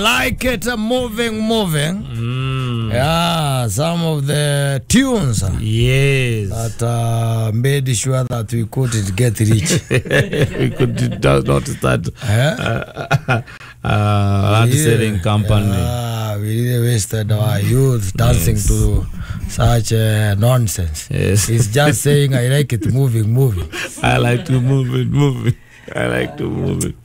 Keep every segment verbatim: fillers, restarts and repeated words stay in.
Like it moving, moving. Mm. Yeah, some of the tunes. Yes. That uh, made sure that we couldn't get rich. We could not start eh? uh, uh, land yeah. selling company. Yeah, we really wasted our youth dancing, yes, to such uh, nonsense. Yes. It's just saying, I like it moving, moving. I like to move it, move it. I like to move it.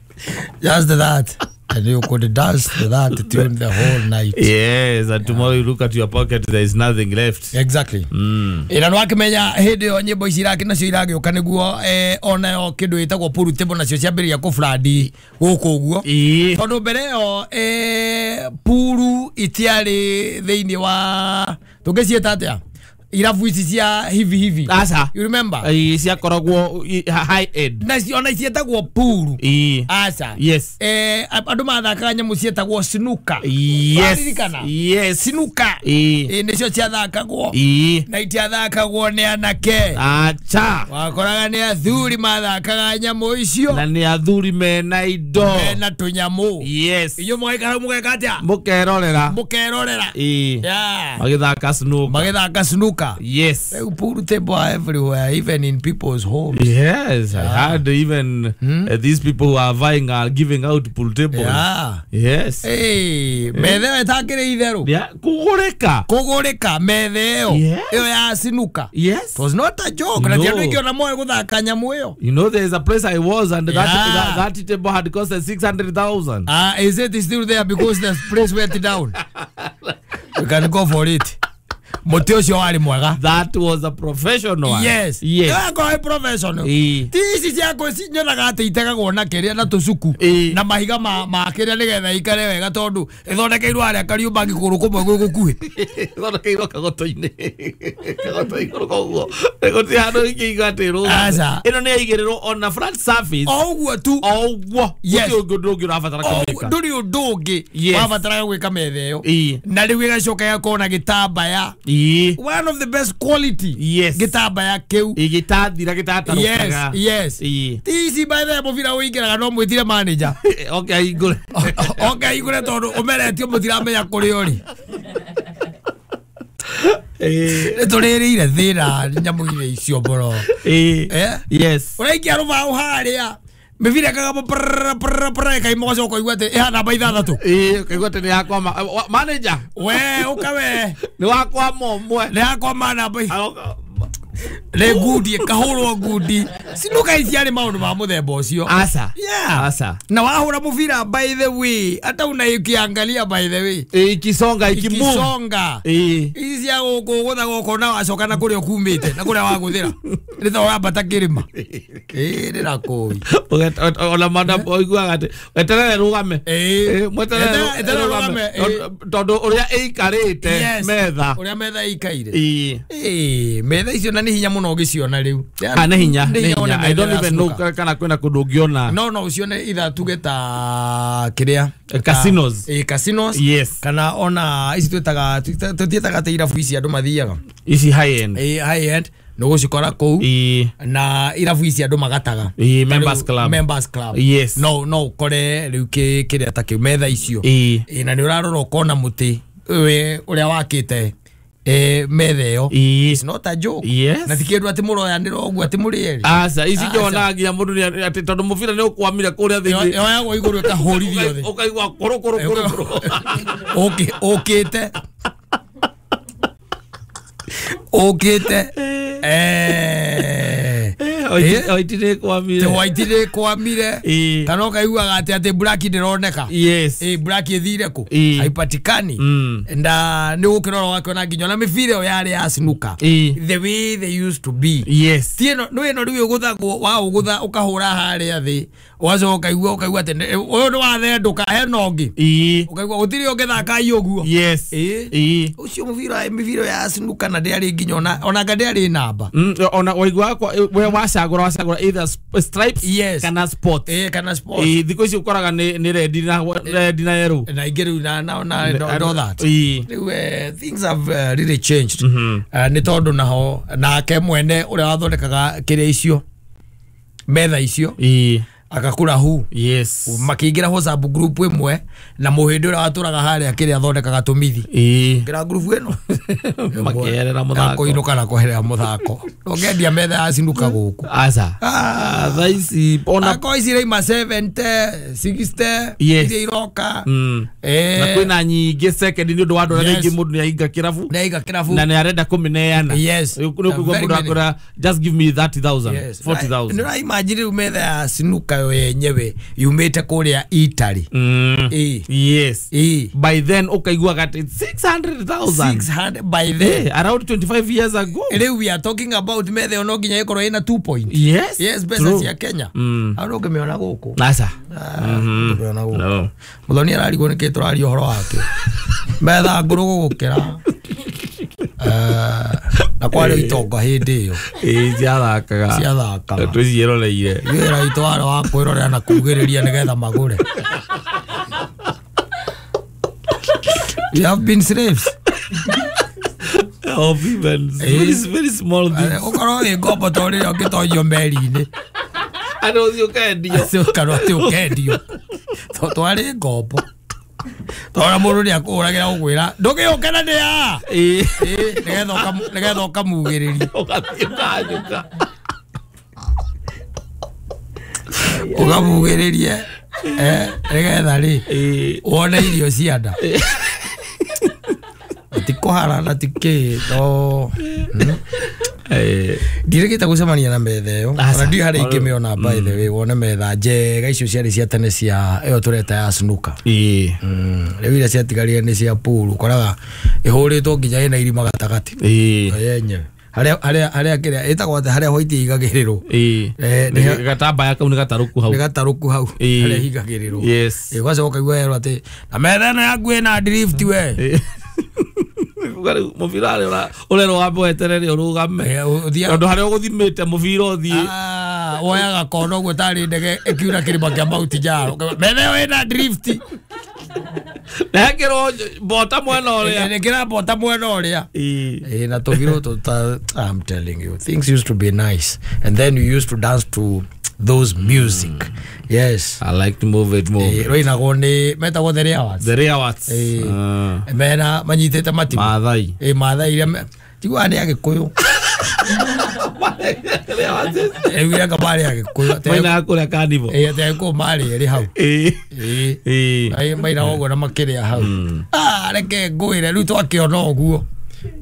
Just that. And you could dance to that tune the whole night. Yes, and tomorrow you look at your pocket, there is nothing left. Exactly. Mm. Ina no akimenya hindi yo nyimbo ici iraki nacio iragĩũka nĩguo eh, onayo kĩndũ gĩtagwo pool table nacio ciambĩrĩria kũfladi gũkũ ũguo. Ĩĩ. Tondũ mbere ĩyo eh, puru itiarĩ thĩinĩ wa tũngĩciĩta atĩa irabu ici cia hivi hivi. Aca. You remember? Ĩĩ, ciakoragwo high end. Na ona cietagwo puru. Ĩĩ. Aca. Yes. Eh, andũ mathakaga nyamũ cietagwo snooker. Yes. Waririkana? Yes. Snooker. Ĩĩ. Ĩĩ, nĩcio ciathakagwo. Ĩĩ. Na itiathakagwo nĩ anake. Acha. Wakoraga nĩ athuri mathakaga nyamũ icio. Na nĩ athuri mena indo. Mena tũnyamũ. Yes. Inyuĩ mũgaikara mũgeka atĩa? Mũkerorera. Mũkerorera. Ĩĩ. Yeah. Magĩthaka snooker. Magĩthaka snooker. Yes. Pool table are everywhere, even in people's homes. Yes, yeah. I heard even hmm? uh, these people who are vying are giving out pool tables. Yeah. Yes. Hey, methe ĩyo ĩtakĩrĩ itherũ. Yeah, kũgũrĩka. Kũgũrĩka methe ĩyo. Yes. Ĩyo ya snooker. Yes. It was not a joke. Na No. ti andũ aingĩ ona moĩ gũthaka nyamũ ĩyo. You know, there is a place I was and that, Yeah. that, that table had costed six hundred thousand. Ah, uh, is it still there because the place went down? You can go for it. Mũtĩ ũcio warĩ mwega. That was a professional one. Yes. Yes. Ĩyo professional. Ĩĩ. Ti ici ciakwa nyonaga atĩ itegagwo na kĩrĩa na tũcuku Ĩĩ. na mahiga ma ma kĩrĩa nĩgetha ikare wega tondũ ĩthondekeirwo harĩa Kariũmbangi kũgũrũ kũmwe gwĩ gũkuhĩ. Ĩthondekeirwo kagoto-inĩ. Kagoto igũrũ koguo. Gũtirĩ handũ ingĩigua atĩ ĩrũgame. Aca. Ĩno nĩ yaigĩrĩrwo on a flat surface. O ũguo tu. O ũguo. Yes. Gũtirĩ ũndũ ũngĩ ũrabatara O kũmĩka. ndũrĩ ũndũ ũngĩ Yes. wabataraga gwĩka metha ĩyo. Ĩĩ. Na rĩu ĩgacoka ĩgakorwo na gĩtambaya. Ĩĩ. One of the best quality. Yes. Gĩtambaya kĩu. Ĩĩ, gĩtathira gĩtatarũkaga. Yes, yes. Ĩĩ. Ti ici by the way mũbira ũingĩraga no mwĩtire manager. Oke ahingũre. Oke ahingũre tondũ ũmeretio mũtiramenya kũrĩa ũrĩ. Ĩĩ. Nĩ tũrĩrĩire thĩna nyamũ-inĩ icio mũno. Ĩĩ. Eh? Yes. Ũraikia rũbaũ harĩa mĩbira ĩkagamba prrrr prrrr prrrr ĩkaima ũgacoka ũkaigua atĩ ĩhana namba ithathatũ. Ĩĩ, ũkaigua atĩ nĩ yakwama. Wa- Manager. We ũka we Nĩ wakwama ũmwe. nĩ yakwama namba i- Aroka- nĩ ngundi ĩkahũrwo ngundi. Sinuka ici yarĩ maũndũ ma mũthemba ũcio. Aca. Yeah. Aca. Na wahũra mũbira by the way hata unaikiangalia by the way Ĩĩ, ikisonga ikimove. ikisonga. Ĩĩ. Ici cia gũkũ gũtha gũkũ na wacoka na kũrĩa ũkumĩte na kũrĩa wagũthĩra nĩ ta ũrambata kĩrĩma. Ĩĩ nĩ na kũi. Ũget- ona madam ũiguaga atĩ weterere rũgame. Ĩĩ. Ĩĩ, mweterere Eterere- eterere rũgame, ĩĩ. Tondũ ũrĩa ĩikarĩte Yes. metha. Ũrĩa metha ĩikaire. Ĩĩ. Ĩĩ, metha icio na nĩ hinya mũno ũgĩciona rĩu. Ah, nĩ hinya, Nĩ nĩ hinya wone hinya. I metha don't ya even know snooker. kana kwĩna kũndũ ũngĩona. No no ucione itha tuge ta kĩrĩa Eh, casinos. Ĩĩ, casinos. Yes. Kana ona ici twĩtaga tũtiĩtaga atĩ irabu ici andũ mathiaga. Ici high end. Ĩĩ, high end nĩ ũgũcikora kũu. Ĩĩ. Na irabu ici andũ magataga. Ĩĩ, members Rĩu, club. Members club. Yes. No no ũkore rĩu kĩ kĩrĩa ta kĩu metha icio. Ĩĩ. Ĩĩ, na nĩ ũrarora ũkona mũtĩ we ũrĩa wakĩte eh, metha ĩyo. Ĩĩ. It's not a joke. Yes. Na ti kĩndũ atĩ mũroyanĩra ũguo atĩ mũrĩ erĩ. Aca, ici Aca. njonaga nginya mũndũ nĩ atĩ tondũ mũbira nĩ ũkwamire kũrĩa thĩinĩ. Yoyagwo igũrũ ĩkahũrithio thĩ. Ũkaigua kũrũ kũrũ kũrũ kũrũ. Ũkĩ- ũkĩte ũkĩte Eh. Oiti oiti nĩ ĩkwamire. White nĩ ĩkwamire. Ĩĩ. Kana ũkaiguaga atĩ atĩ black ndĩroneka. Yes. Ĩĩ, black ĩthire kũ? Ĩĩ. Haipatikani. Mm. Na nĩ ũgũkĩrora ũgakĩona nginya ona mĩbira ĩyo yarĩ ya snooker. Ĩĩ. The way they used to be. Yes. Ti ĩno nĩ ĩno rĩu ĩgũthagwo waũgũtha ũkahũra harĩa thĩ ũgacoka ũkaigua ũkaigua atĩ nĩ- ũyũ nĩ wathendũka hena ũngĩ. Ĩĩ. Ũkaigua gũtirĩ ũngĩthaka ai ũguo. Yes. Ĩĩ. Ĩĩ. Ũcio mũbira mĩbira ya snooker na ndĩarĩ nginya ona ona anga ndĩarĩ namba. Mm, ona waiguaga kwa we wacagũra wacagũra either sp- stripes Yes. kana spots. Ĩĩ, kana sport. Ĩĩ, thikũ ici ũkoraga nĩ nĩ red na red na yellow. Na ingĩ rĩu na na na and all that. Ĩĩ. Rĩu eh, things have uh, really changed. Uh, nĩ tondũ naho nake mwene ũrĩa wathondekaga kĩrĩa icio metha icio Ĩĩ. Agakura hu. Yes. Makĩingĩra WhatsApp group ĩmwe na mũhĩndĩ ũrĩa watũraga harĩa kĩrĩa athondekaga tũmithi. Ĩĩ. Ngĩra group ĩno. Makĩerera mũthako. Kũinũka na kweherera mũthako. Ũngĩendia metha ya sinuka gũkũ. Aca. Ah, thaa ici ona Ako ici iraima seventy, sixty, Yes. iria iroka. Mm. Eh. Na kwĩna nyingĩ second nĩ ũndũ wa andũ arĩa Yes. rĩngĩ mũndũ nĩ ahinga kĩrabu Nĩaiga kĩrabu. na nĩ arenda kũmĩneana. Yes. Nĩ ũkũigua Very mũndũ many. akwĩra just give me thirty thousand, Yes. forty thousand. Nĩ ũraimagine rĩu metha ya sinuka yo yenyewe yumĩte kũrĩa Italy. Mm. Ĩĩ. Yes. Ĩĩ. By then ũkaiguaga atĩ six hundred thousand. six hundred by then. Eh, around twenty-five years ago. Rĩu we are talking about metha ĩyo no nginya ĩkorwo ĩna two point. Yes. Yes, mbeca True. cia Kenya. Mm. Hau ndũngĩmĩona gũkũ. Aca. Ndũngĩmĩona gũkũ. No. Mũthoni ararigwo nĩkĩ tũraria ũhoro wake. Metha ngũrũ gũgũkĩra. Eh, na kwarĩ itonga hĩndĩ ĩyo. Ĩĩ, ciathakaga. Ciathakaga. Twĩciĩroreire. Wĩra witũ warĩ wa kwĩrorera na kugĩrĩria nĩgetha magũre. We have been slaves. Of events. Eh. Very, very small things. Ũkorwo wĩ ngombo ta ũrĩa ũngĩtonyio meri-inĩ. Andũ ũthiĩ ũkendio. Acio ũkarwo atĩ ũkendio. To twarĩ ngombo. Tora mũndũ nĩ akũhũragĩra gũkwĩra ndũgĩũke na nĩ a. Ĩĩ. Ĩĩ, nĩgetha ũkamu-, nĩgetha ũkamugĩrĩria. Ũgathiĩ ũkanyũka. Ũkamugĩrĩrie, eh, nĩgetha rĩ, Ĩĩ. wone irio cia nda. Ti kũharana ti kĩ, no. Eh. Ndirĩkĩte gũcemania na metha ĩyo. Aca. Ona ndiũĩ harĩa ingĩmĩona by the way, wone metha njega icio ciarĩ cia tene cia ĩyo tũreta ya snooker. Ĩĩ. Mm. Rĩu iria ciatigarire nĩ cia pool, ũkoraga ĩhũrĩtwo nginya ĩna irima gatagatĩ. Ĩĩ. Yenyewe. Harĩa harĩa harĩa kĩrĩa ĩtagwo atĩa harĩa white ĩigagĩrĩrwo. Ĩĩ. Eh, nĩ gatambaya kau nĩ gatarũku hau. Nĩ gatarũku hau. Ĩĩ. Harĩa ĩhingagĩrĩrwo. Yes. Ĩĩ, ũgacoka ũkaigua yerwo atĩ na metha ĩno yaku ĩna drift we. Ĩĩ. Uga rĩu mũbira ũrĩa ũrerwo wambe weterere ũrũgame. Eh, ũthiaga Tondũ harĩa ũgũthimĩte mũbira ũthiĩ. Ah, woyaga kona ũguo tarĩ ndege ĩkiura kĩrĩma kĩa Mount Njaro. Metha ĩyo ĩna drift. Na hekĩrwo mbota mwena ũrĩa. Ĩkĩra mbota mwena ũrĩa. Ĩĩ. Eh, na tũbira tũta, I'm telling you, things used to be nice. And then you used to dance to those music. Mm. Yes. I like to move it, move Eh, rũinagwo nĩ metagwo The Reawards. The Reawards. Eh. Ah. Mena manyitĩte matimũ. Maathai. Eh, Maathai iria me- tiguaga nĩ Agĩkũyũ. Rĩu anga marĩ Agĩkũyũ. Atĩ- Mainaga kũrĩa carnival. Eh, atĩ Agĩkũyũ marĩ erĩ hau. Ĩĩ. Ĩĩ. Ĩĩ. Ai, mainaga ũguo na makĩrĩa hau. Ah, reke ngwĩre rĩu twakĩona ũguo.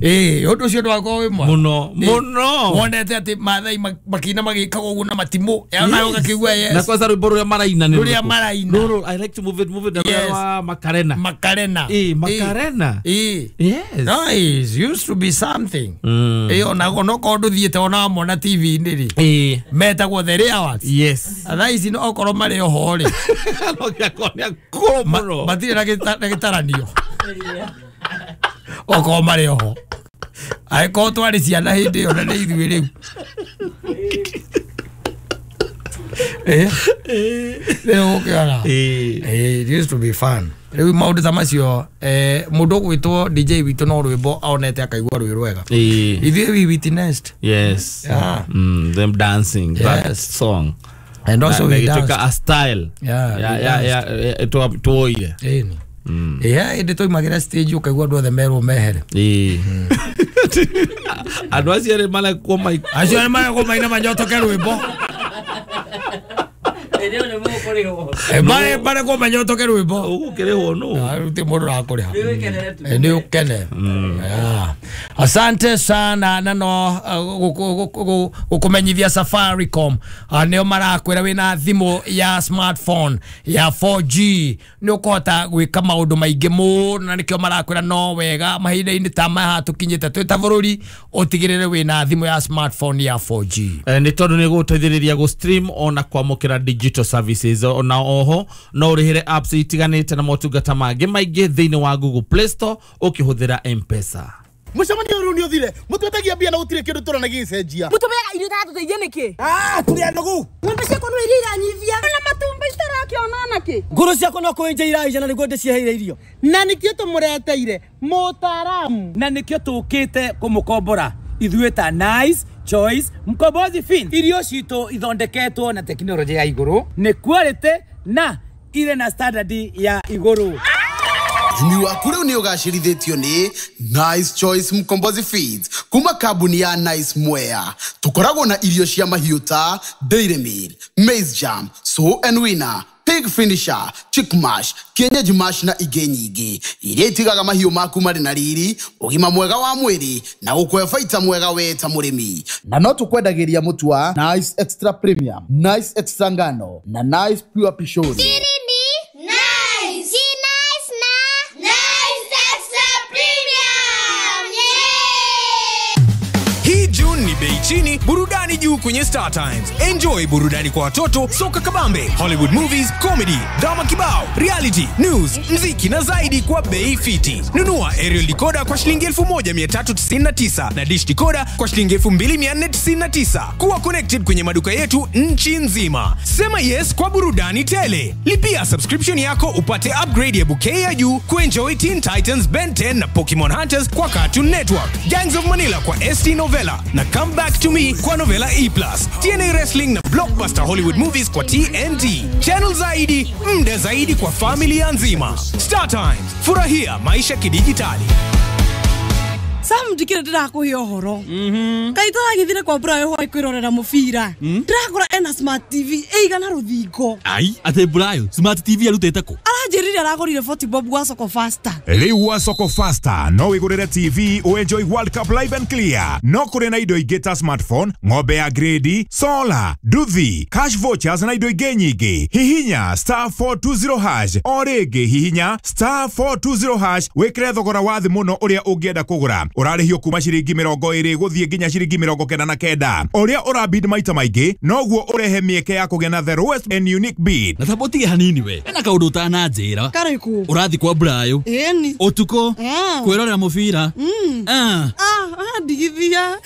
Ĩĩ, ũndũ ũcio ndwakorwo wĩ mwega. Mũno. Ĩĩ. Mũno. Wonete atĩ Maathai ma- makĩina magĩkaga ũguo na matimũ. Ya nawe ũgakĩigua yes. Na kwanza rwĩmbo rũrĩa maraina nĩ Rũrĩa rũrĩkũ? maraina. Rũrũ, I like to move it, move it, na rũrĩa Yes. rwa Makarena. Makarena. Ĩĩ, Makarena. Ĩĩ. Yes. Nice, used to be something. Mm. Ĩĩ, ona onokorwo ndũthiĩte ona wamona T V-inĩ rĩ. Ĩĩ. Metagwo The Reawards. Yes. Thaa ici no okorwo marĩ oho rĩ. No gĩakorwo nĩ akũrũ Ma- mũno. matirĩ na gĩta- na gĩtaranio. Okorwo marĩ oho. Angĩkorwo twarĩ ciana hĩndĩ ĩyo na nĩ ithuĩ rĩu. Eh? Rĩu ũkĩona. Ĩĩ. Eh, it used to be fun. Rĩu maũndũ ta macio, eh, mũndũ ũgwĩtwo D J witũ no rwĩmbo aonete akaigua rwĩ rwega. Ĩĩ. Ithuĩ we witnessed. Yes. Yeah. Mm, them dancing, that Yes. song. And also Na- we na ĩgĩtuĩka danced. a style. Yeah, Ya we ya danced. ya twa- tuoire. Ĩni. Ĩĩ, hĩndĩ twaimagĩra stage ũkaigua andũ othe merwo mehere. Ĩĩ. Andũ acio erĩ marekwo mai- Acio erĩ marekwo maina manyotoke rwĩmbo. Eh, mare marekwo manyotoke rwĩmbo. Ũgũkĩrĩhwo nũ? Ah, rĩu ti mũndũ ũrakũrĩha. Eh, nĩ ũkene. Yeah. Asante sana na no gũkũmenyithia Safaricom. Ah, nĩo marakwĩra wĩna thimũ ya smartphone ya four G nĩ ũkũhota gwĩka maũndũ maingĩ mũno na nĩkĩo marakwĩra no wega mahinda-inĩ ta maya tũkinyĩte twĩ ta bũrũri ũtigĩrĩre wĩna thimũ ya smartphone ya four G. Eh, nĩ tondũ nĩ gũteithĩrĩria gũ stream ona kwamũkĩra digital services ona oho no ũrĩhĩre apps itiganĩte na motungata mangĩ maingĩ thĩinĩ wa Google Play Store ũkĩhũthĩra M-Pesa. Mũcemanio ũyũ nĩ ũthire mũtwetagia mbia na gũtirĩ kĩndũ tũrona gĩgĩcenjia. Mũtũmĩaga irio itatũteithia nĩkĩ? Ah, tũrĩ anogu. Ng'ombe ciakwa no iria iranyivia. Na matumbĩ citarakĩona nakĩ? Ngũrũ ciakwa no kũenja iraija na nĩguo ndĩciheire irio. Na nĩkĩo tũmũreteire mũtaaramu. Na nĩkĩo tũkĩte kũmũkombora ithuĩ ta Nice Choice Mkombozi Feeds. Irio citũ ithondeketwo na tekinoronjĩ ya igũrũ, nĩ quality na ire na standard ya igũrũ. Ũrĩmi waku rĩu nĩ ũgacĩrithĩtio nĩ Nice Choice Mkombozi Feeds kuma kambuni ya Nice Mwea. Tũkoragwo na irio cia mahiũ ta Dairy Meal, Maize Jam, Sow and Winner, Pig Finisher, Chick Mash, Kienyeji Mash na ingĩ nyingĩ iria itigaga mahiũ maku marĩ na riri, ũgima mwega wa mwĩrĩ na gũkũhe baita mwega we ta mũrĩmi. Na no tũkwendagĩria mũtu wa Nice Extra Premium, Nice Extra Ngano na Nice Pure Pishori. Nice. Nice na Nice Extra Premium. Yeah! Hii June ni bei chini, burudani juu kwenye Star Times. Enjoy burudani kwa watoto, soka kabambe, Hollywood movies, comedy, drama kibao, reality, news, mziki na zaidi kwa bei fiti. Nunua aerial decoder kwa shilingi elfu moja mia tatu tisini na tisa na dish decoder kwa shilingi elfu mbili mia nne tisini na tisa. Kuwa connected kwenye maduka yetu nchi nzima. Sema yes kwa burudani tele. Lipia subscription yako upate upgrade ya bouquet ya juu kuenjoy Teen Titans, Ben ten na Pokemon Hunters kwa Cartoon Network, Gangs of Manila kwa S T Novella na Come Back to Me kwa Novella E plus, T N A Wrestling na Blockbuster Hollywood Movies kwa T N T. Channel zaidi, mda zaidi kwa familia nzima. Star Times, furahia maisha kidijitali. Sam ndikire ndirakuhe ũhoro. Kaĩ tũragĩthire kwa Brayo hwaĩ kwĩrorera mũbira. Ndĩrakora ena smart T V ĩigana rũthingo. Ai, atĩ Brayo smart T V arutĩte kũ? Aranjĩrire aragũrire forty bob gwa Soko Faster. Rĩu gwa Soko Faster no wĩgũrĩre T V ũenjoy World Cup live and clear. No kũrĩ na indo ingĩ ta smartphone, ng'ombe ya grade, solar, nduthi, cash vouchers na indo ingĩ nyingĩ. Hihinya star four two zero hash o rĩngĩ hihinya star four two zero hash wĩkĩre thogora wa thĩ mũno ũrĩa ũngĩenda kũgũra. Ũrarĩhio kuma ciringi mĩrongo ĩrĩ gũthiĩ nginya ciringi mĩrongo kenda na kenda. Ũrĩa ũrabid maita maingĩ noguo ũrehe mĩeke ya kũgĩa na the lowest and unique bid. Na tamba ũtige hanini we. Ena kaũndũ ũtananjĩra. Karĩkũ? Ũrathiĩ kwa Brayo. Ĩni. Ũtukũ. Kwĩrorera mũbira. Ah. Ah, ndigithia.